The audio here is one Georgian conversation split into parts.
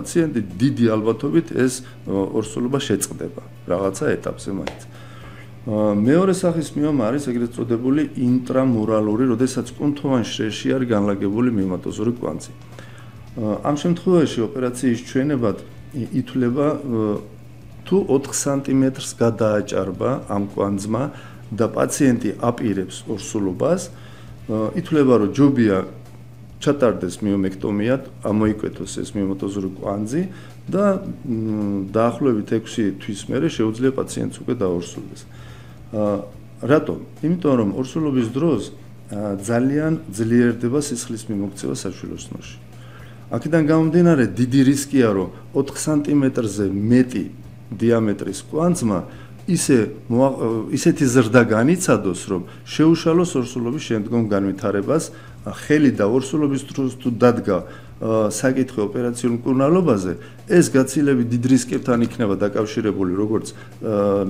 პაციენტი დიდი ალბათობით ეს ორსულობა შეწყდება რაღაცა ეტაპზე მაინც. მეორე სახის მიომა არის ეგრეთ წოდებული ინტრამურალური, როდესაც კუნთოვან შრეში არის განლაგებული მიომატოზური კვანძი. ამ შემთხვევაში ოპერაციის ჩვენებად ითვლება თუ 4 სანტიმეტრს გადააჭარბა ამ კვანძმა და პაციენტი აპირებს ორსულობას, ითვლება რომ ჯობია ჩატარდეს მიომექტომია, ამოიკვეთოს ეს მიომატოზური კვანძი და დაახლოებით 6 თვის მერე შეუძლია პაციენტს უკვე დაორსულდეს. რატომ? იმიტომ რომ ორსულობის დროს ძალიან ძლიერდება სისხლის მიმოქცევა საშვილოსნოში. აქედან გამომდინარე დიდი რისკია რომ 4 სანტიმეტრზე მეტი დიამეტრის კვანძმა ისეთი ზრდა განიცადოს, რომ შეუშალოს ორსულობის შემდგომ განვითარებას, ხელი და ორსულობის დროს თუ დადგა საკითხი ოპერაციულ მკურნალობაზე, ეს გაცილებით დიდ რისკებთან იქნება დაკავშირებული როგორც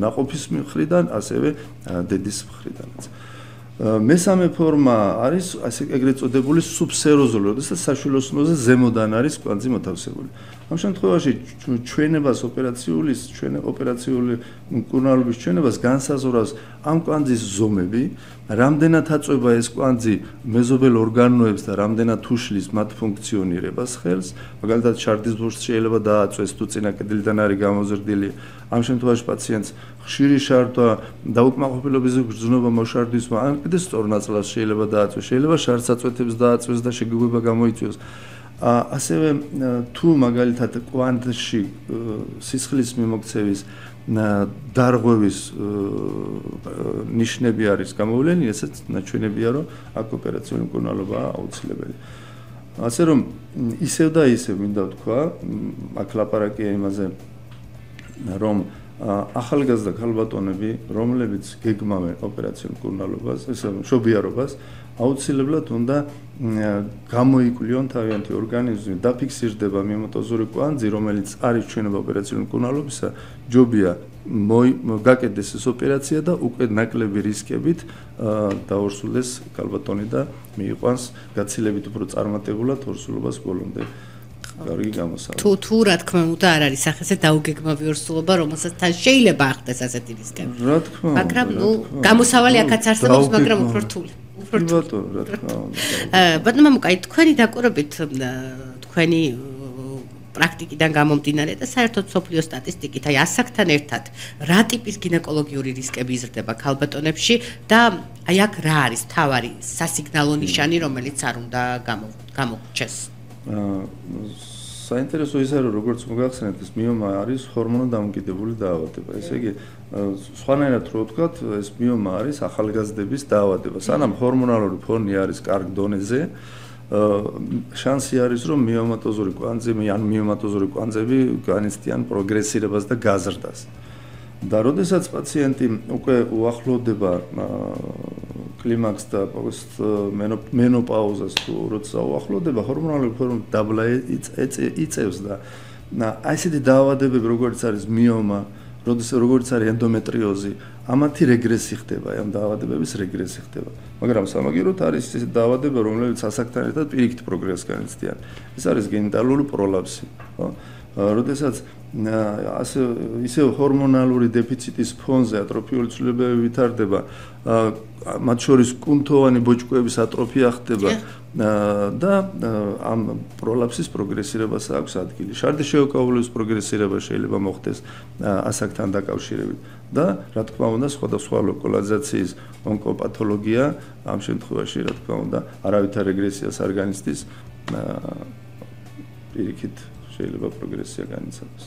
ნაყოფის მხრიდან, ასევე დედის მხრიდანაც. მესამე ფორმა არის ასე ეგრეთ წოდებული სუბსეროზული, როდესაც საშვილოსნოზე ზემოდან არის კვანძი მოთავსებული. ამ შემთხვევაში ჩვენებას ოპერაციული მკურნალობის ჩვენებას განსაზღვრავს ამ კვანძის ზომები, რამდენად აწვება ეს კვანძი მეზობელ ორგანოებს და რამდენად უშლის მათ ფუნქციონირებას ხელს. მაგალითად, შარდის ბურთს შეიძლება დააწვეს, თუ წინა კედლიდან არის გამოზრდილი. ამ შემთხვევაში პაციენტს ხშირი შარდვა, დაუკმაყოფილების გრძნობა მოშარდვისმა, ან კიდე სწორ ნაწლავს შეიძლება დააწვეს, შეიძლება შარდსაწვეთებს დააწვეს და შეგუება გამოიწვიოს. ასევე თუ მაგალითად კვანძში სისხლის მიმოქცევის დარღვევის ნიშნები არის გამოვლენი, ესეც ნაჩვენებია, რომ აქ ოპერაციული მკურნალობაა აუცილებელი. ასე რომ ისევ და ისევ მინდა ვთქვა, აქ ლაპარაკია იმაზე, რომ ახალგაზრდა ქალბატონები, რომლებიც გეგმავენ ოპერაციულ მკურნალობას, ესე მშობიარობას, აუცილებლად უნდა გამოიკვლიონ თავიანთი ორგანიზმი, დაფიქსირდება მიომატოზური კვანძი, რომელიც არის ჩვენება ოპერაციული მკურნალობისა, ჯობია გაკეთდეს ეს ოპერაცია და უკვე ნაკლები რისკებით დაორსულდეს ქალბატონი და მიიყვანს გაცილებით უფრო წარმატებულად ორსულობას ბოლომდე. კარგი გამოსავალი. თუ რა თქმა უნდა არ არის სახეზე დაუგეგმავი ორსულობა, რომელსაც თან შეიძლება ახდეს ასეთი რისკები. რა თქმა უნდა. მაგრამ გამოსავალი აქაც არსებობს, მაგრამ უფრო რთული. ბატონო, რა თქმა უნდა. ბატონო მამუკა, თქვენი დაკვირვებით თქვენი პრაქტიკიდან გამომდინარე და საერთოდ სოფლიო სტატისტიკით, აი ასაკთან ერთად რა ტიპის გინეკოლოგიური რისკები იზრდება ქალბატონებში და აი აქ რა არის თავარი სასიგნალო ნიშანი, რომელიც არ უნდა გამოგვჩეს? საინტერესო ის არის, როგორც მოგახსენეთ, ეს მიომა არის ჰორმონოდამოკიდებული დაავადება. ესე იგი, სხვანაირად რო ვთქვათ, ეს მიომა არის ახალგაზრდების დაავადება. სანამ ჰორმონალური ფონი არის კარგ დონეზე, შანსი არის, რომ მიომატოზური კვანძები ან მიომატოზური კვანძები განიცდიან პროგრესირებას და გაზრდას. და როდესაც პაციენტი უკვე უახლოვდება კლიმაქსს და მენოპაუზას, თუ როცა უახლოვდება, ჰორმონული ფონი დაბლა იწევს და ასეთი დაავადებები, როგორც არის მიომა, როგორც არის ენდომეტრიოზი, ამათი რეგრესი ხდება, ამ დაავადებების რეგრესი ხდება. მაგრამ სამაგიეროდ არის ეს დაავადება, რომელიც ასაკთან ერთად პირიქით პროგრესს განიცდიან. ეს არის გენიტალური პროლაპსი, ხო? როდესაც ისე ჰორმონალური დეფიციტის ფონზე ატროფიული ცვლილებები ვითარდება, მათ შორის კუნთოვანი ბოჭკოების ატროფია ხდება და ამ პროლაპსის პროგრესირებას აქვს ადგილი. შარდის შეუკავლების პროგრესირება შეიძლება მოხდეს ასაკთან დაკავშირებით და რა თქმა უნდა სხვადასხვა ლოკალიზაციის ონკოპათოლოგია ამ შემთხვევაში რა თქმა უნდა არავითარ რეგრესიას არ განიცდის, პირიქით შეიძლება პროგრესია განიცადოს.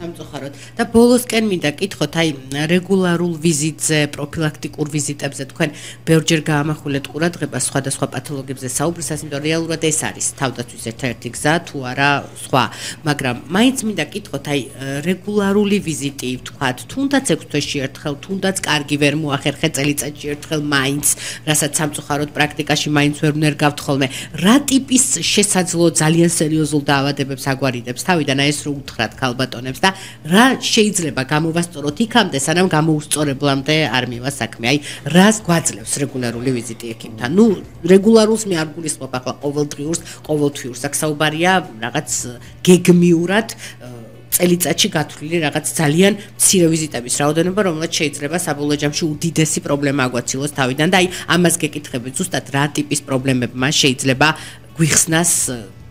სამწუხაროდ და ბოლოსკენ მინდა კითხოთ, აი რეგულარულ ვიზიტზე, პროფილაქტიკურ ვიზიტებზე თქვენ ბევრჯერ გაამახვილეთ ყურადღებას სხვადასხვა პათოლოგიებზე საუბრისას, იმიტომ რეალურად ეს არის თავდაცვის ერთ-ერთი გზა, თუ არა სხვა. მაგრამ მაინც მინდა კითხოთ, აი რეგულარული ვიზიტი, ვთქვათ, თუნდაც 6 თვეში ერთხელ, თუნდაც კარგი ვერ მოახერხე წელიწადში ერთხელ მაინც, რასაც სამწუხაროდ პრაქტიკაში მაინც ვერ ვნერგავთ ხოლმე. რა ტიპის შესაძლო ძალიან სერიოზულ დაავადებებს აგვარიდებს თავიდან, აი ეს რო უთხრათ ქალბატონებს და და რა შეიძლება გამოვასწოროთ იქამდე, სანამ გამოუსწორებლამდე არ მივა საქმე. აი, რას გვაძლევს რეგულარული ვიზიტი ექიმთან? ნუ რეგულარულს მე არ გულისხმობ ახლა ყოველდღიურს, ყოველთვიურს. აქ საუბარია რაღაც გეგმიურად წელიწადში გათვლილი რაღაც ძალიან მცირე ვიზიტების რაოდენობა, რომელიც შეიძლება საბოლოო ჯამში უდიდესი პრობლემა აგვაცილოს თავიდან და აი ამას გეკითხებით ზუსტად რა ტიპის პრობლემებმა შეიძლება გვიხსნას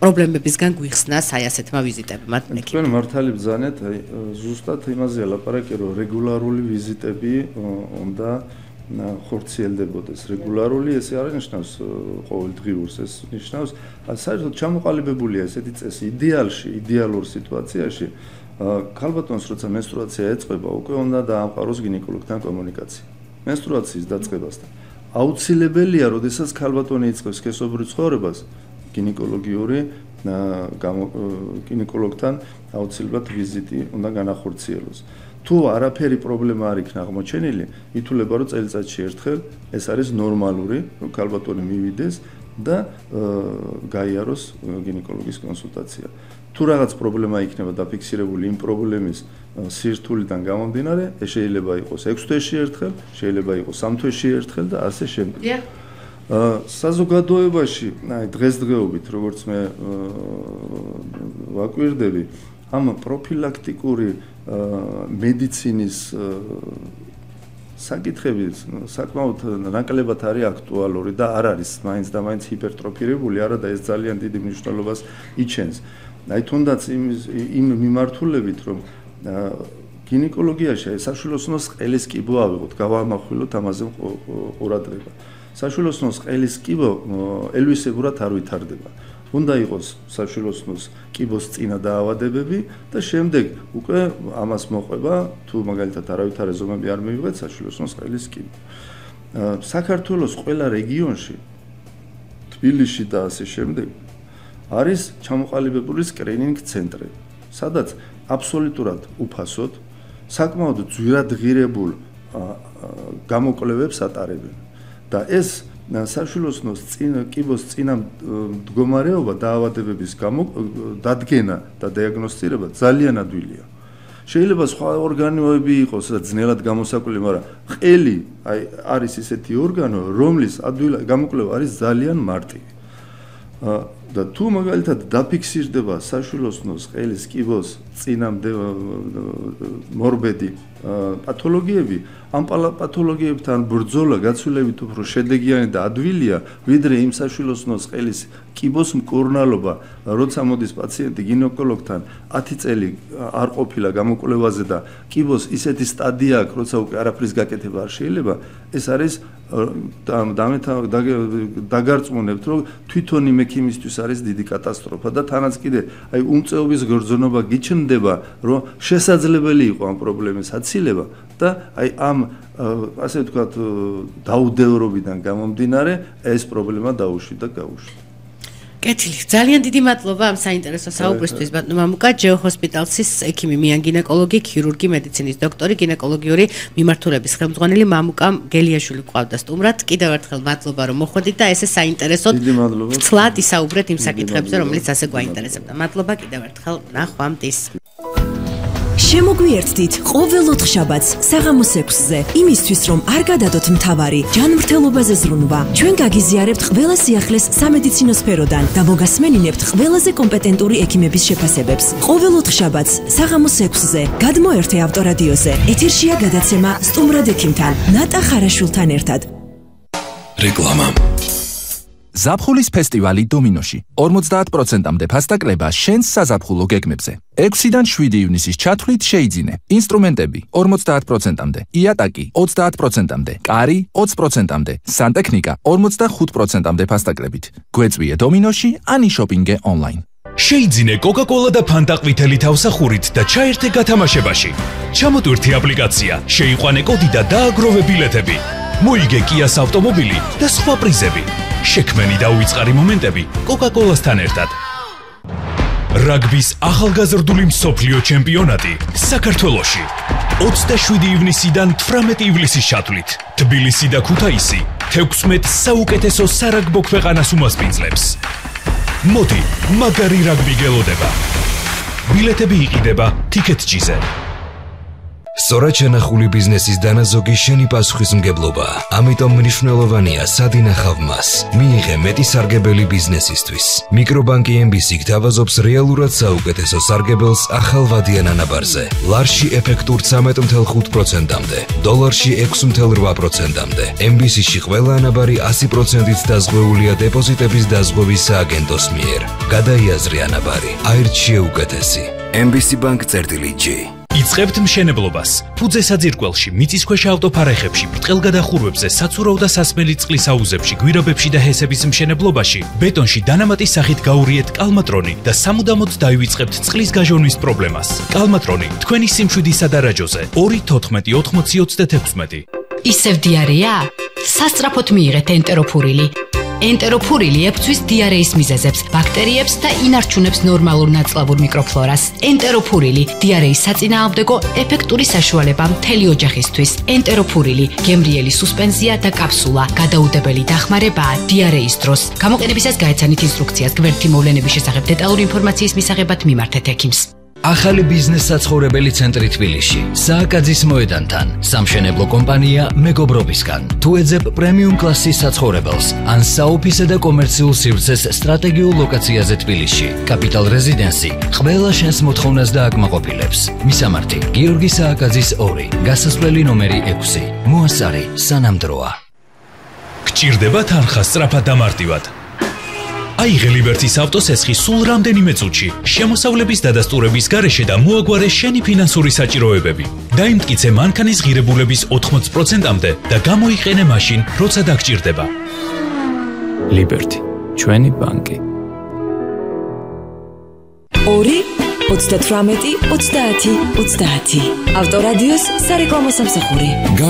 პრობლემებისგან გვიხსნას აი ასეთმა ვიზიტებმა. თქვენ მართალი ბრძანეთ, აი ზუსტად იმაზეა ლაპარაკი, რომ რეგულარული ვიზიტები უნდა ხორციელდებოდეს. რეგულარული ესე არ ნიშნავს ყოველდღიურს, ეს ნიშნავს საერთოდ ჩამოყალიბებულია ესეთი წესი. იდეალურ სიტუაციაში ქალბატონს როცა მენსტრუაცია ეწყება, უკვე უნდა დაამყაროს გინეკოლოგთან კომუნიკაცია. მენსტრუაციის დაწყებასთან. აუცილებელია, როდესაც ქალბატონი იწყებს სქესობრივ ცხოვრებას, გინეკოლოგთან აუცილებლად ვიზიტი უნდა განახორციელოს. თუ არაფერი პრობლემა არ იქნა აღმოჩენილი, ითვლება, რომ წელიწადში ერთხელ ეს არის ნორმალური, რომ ქალბატონი მივიდეს და გაიაროს გინეკოლოგის კონსულტაცია. თუ რაღაც პრობლემა იქნება დაფიქსირებული იმ პრობლემის სირთულიდან გამომდინარე, ეს შეიძლება იყოს 6 თვეში ერთხელ, შეიძლება იყოს 3 თვეში ერთხელ და ასე შემდეგ. საზოგადოებაში, აი დღესდღეობით, როგორც მე ვაკვირდები, ამ პროფილაქტიკური მედიცინის საკითხები საკმაოდ ნაკლებად არის აქტუალური და არ არის მაინც და მაინც ჰიპერტროფირებული, არადა ეს ძალიან დიდი მნიშვნელობას იჩენს. აი თუნდაც იმ მიმართულებით, რომ გინეკოლოგიაში საშვილოსნოს ყელის კიბო ავიღოთ, გავამახვილოთ ამაზე ყურადღება. საშვილოსნოს ყელის კიბო ელვისებურად არ ვითარდება. უნდა იყოს საშვილოსნოს კიბოს წინა დაავადებები და შემდეგ უკვე ამას მოყვება, თუ მაგალითად არავითარი ზომები არ მივიღეთ საშვილოსნოს ყელის კიბო. საქართველოს ყველა რეგიონში, თბილისში და ასე შემდეგ, არის ჩამოყალიბებული სკრინინგ ცენტრები, სადაც აბსოლუტურად უფასოდ, საკმაოდ ძვირადღირებულ გამოკვლევებს ატარებენ. და ეს საშვილოსნოს კიბოს წინა მდგომარეობა დაავადებების დადგენა და დიაგნოსტირება ძალიან ადვილია. შეიძლება სხვა ორგანოები იყოს ძნელად გამოსაკვლირი, მაგრამ ყელი არის ისეთი ორგანო, რომლის გამოკვლევა არის ძალიან მარტივი. და თუ მაგალითად დაფიქსირდება საშვილოსნოს ყელის კიბოს წინა მორბედი პათოლოგიები, ამ პათოლოგიებთან ბრძოლა გაცვლებით უფრო შედეგიანი და ადვილია, ვიდრე იმ საშვილოსნოს ყელის კიბოს მკურნალობა, როცა მოდის პაციენტი გინეკოლოგთან 10 წელი არ ყოფილა გამოკვლევაზე და კიბოს ისეთი სტადია აქვს, როცა უკვე არაფრის გაკეთება არ შეიძლება, ეს არის დაგარწმუნებთ, რომ თვითონ იმ ექიმისთვის არის დიდი კატასტროფა და თანაც კიდე აი უმწეობის გრძნობა გიჩნდება, რომ შესაძლებელი იყო ამ პრობლემის აცილება და აი ამ ასე ვთქვათ დაუდევრობიდან გამომდინარე ეს პრობლემა დაუშვი და გაუშვი. კეთილი, ძალიან დიდი მადლობა ამ საინტერესო საუბრისთვის ბატონო მამუკა, ჯეო ჰოსპიტალსის ექიმი, მიან გინეკოლოგი, ქირურგი, მედიცინის დოქტორი, გინეკოლოგიური მიმართულების ხელმძღვანელი მამუკა გელიაშვილი ყავდა სტუმრად. კიდევ ერთხელ მადლობა რომ მოხვედით და ესე საინტერესოდ ცლად ისაუბრეთ იმ საკითხებზე, რომელიც ასე გვაინტერესებდა. მადლობა კიდევ ერთხელ, ნახვამდის. შემოგვიერთდით ყოველ ოთხშაბათს საღამოს 6-ზე, იმისთვის რომ არ გადადოთ მთავარი ჯანმრთელობაზე ზრუნვა. ჩვენ გაგიზიარებთ ყველა სიახლეს სამედიცინო სფეროდან და მოგასმენინებთ ყველაზე კომპეტენტური ექიმების შეფასებებს. ყოველ ოთხშაბათს საღამოს 6-ზე გადმოერთე ავტორადიოზე. ეთერშია გადაცემა სტუმრად ექიმთან, ნატა ხარაშვილთან ერთად. რეკლამა. ზაფხულის ფესტივალი დომინოში 50%-მდე ფასდაკლება შენს საზაფხულო გეგმებზე. 6-დან 7 ივნისის ჩათვლით შეიძინე. ინსტრუმენტები 50%-მდე, იატაკი 30%-მდე, კარი 20%-მდე, სანტექნიკა 45%-მდე ფასდაკლებით. გვეწვიე დომინოში, ან იშოპინგე ონლაინ. შეიძინე Coca-Cola და Fanta ყვითელი თავსახურით და ჩაერთე გათამაშებაში. ჩამოტვირთი აპლიკაცია, შეიყვანე კოდი და დააგროვე ბილეთები. მოიგე Kia-ს ავტომობილი და სხვა პრიზები. შექმენი და უიწყარი მომენტები Coca-Cola-სთან ერთად. რაგბის ახალგაზრდული მსოფლიო ჩემპიონატი საქართველოში 27 ივნისიდან 18 ივლისის ჩათვლით. თბილისი და ქუთაისი 16 საუკეთესო სარაგბო ქვეყანას უმასპინძლებს. მოდი, მაგარი რაგბი გელოდება. ბილეთები იყიდება Ticket.gz-ზე. სწორად შენახული ბიზნესის დანაზოგი შენი პასუხისმგებლობაა. ამიტომ მნიშვნელოვანია სად ინახავ მას. მიიღე მეტი სარგებელი ბიზნესისთვის. მიკრობანკი MBC გთავაზობს რეალურად საუკეთესო სარგებელს ახალ ვადიან ანაბარზე. ლარში ეფექტურ 13.5%-მდე, დოლარში 6.8%-მდე. MBC-ში ყველა ანაბარი 100%-ით დაზღვეულია დეპოზიტების დაზღვევის სააგენტოს მიერ. გადაიაზრე ანაბარი. აირჩიე უკეთესი. MBC Bank-G. იწყებთ მშენებლობას. ფუძე საძირკველში, მიწისქვეშა ავტოფარეხებში, ბრტყელგადახურვებზე, საცურაო და სასმელი წყლის აუზებში, გვირაბებში და ჰესების მშენებლობაში, ბეტონში დანამატის სახით გაურიეთ კალმატრონი და სამუდამოდ დაივიწყებთ წყლის გაჟონვის პრობლემას. კალმატრონი, თქვენი სიმშვიდისა და რაჯოზე. 2-14-80-36. ისევ დიარეა? სასწრაფოდ მიიღეთ ენტეროფურილი. ენტეროფურილი ებრძვის დიარეის მიზეზებს, ბაქტერიებს და ინარჩუნებს ნორმალურ ნაწლავურ მიკროფლორას. ენტეროფურილი დიარეის საწინააღმდეგო ეფექტური საშუალება მთელი ოჯახისთვის. ენტეროფურილი გემრიელი სუსპენზია და კაფსულა, გადაუდებელი დახმარებაა დიარეის დროს. გამოყენებისას გაეცანით ინსტრუქციას. გვერდითი მოვლენების შესახებ დეტალური ინფორმაციის მისაღებად მიმართეთ ექიმს. ახალი ბიზნეს საცხოვრებელი ცენტრი თბილისში, სააკაძის მოედანთან, სამშენებლო კომპანია მეგობრობისგან. თუ ეძებ პრემიუმ კლასის საცხოვრებელს, ან საოფისე და კომერციულ სივრცეს სტრატეგიულ ლოკაციაზე თბილისში, კაპიტალ რეზიდენსი ყველა შენს მოთხოვნას დააკმაყოფილებს. მისამართი: გიორგი სააკაძის 2, გასასვლელი ნომერი 6. მოასწარი სანამ დროა. გჭირდება თანხა სწრაფად და მარტივად. აიღე ლიბერტის ავტოსესხი სულ რამდენიმე წუთში, შემოსავლების დადასტურების გარეშე და მოაგვარე შენი ფინანსური საჭიროებები. დაიმტკიცე მანქანის ღირებულების 80%-მდე და გამოიყენე მაშინ, როცა დაგჭირდება. ლიბერტი, ჩვენი ბანკი. 2-38-30-30 ავტორადიოს სარეკლამო სამსახური.